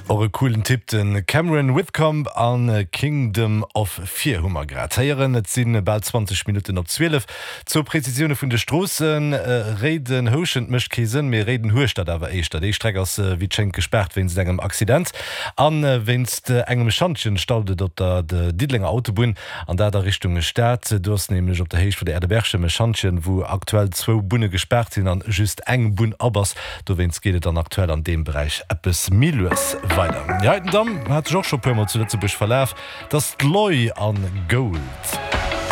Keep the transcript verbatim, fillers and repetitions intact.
Och e coolen Typ, den Cameron Whitcomb an Kingdom of Fear hu mer grad héieren. Et si bal zwanzeg Minutten op zwielef. Zwou Präzisioune vun de Stroossen, Réiden-Houschent mécht kee Sënn, mee Réiden-Hueschtert awer éischter. Déi Streck ass wéi et schéngt gespaart wéinst engem Accident. A wéinst engem Schantjen staut et op der Diddelenger Autobunn, an dat a Richtung Stad. Do ass nämlech op der Héicht vun der Aire de Berchem e Schantjen, wou aktuell zwou Bunne gespaart sinn an just eng Bunn op ass. Dowéinst geet et dann aktuell an deem Beräich eppes méi lues weider. Déi heiten Damm hat sech och scho puer mol zu Lëtzebuerg verlaf, dat ass d'Loi an Gold.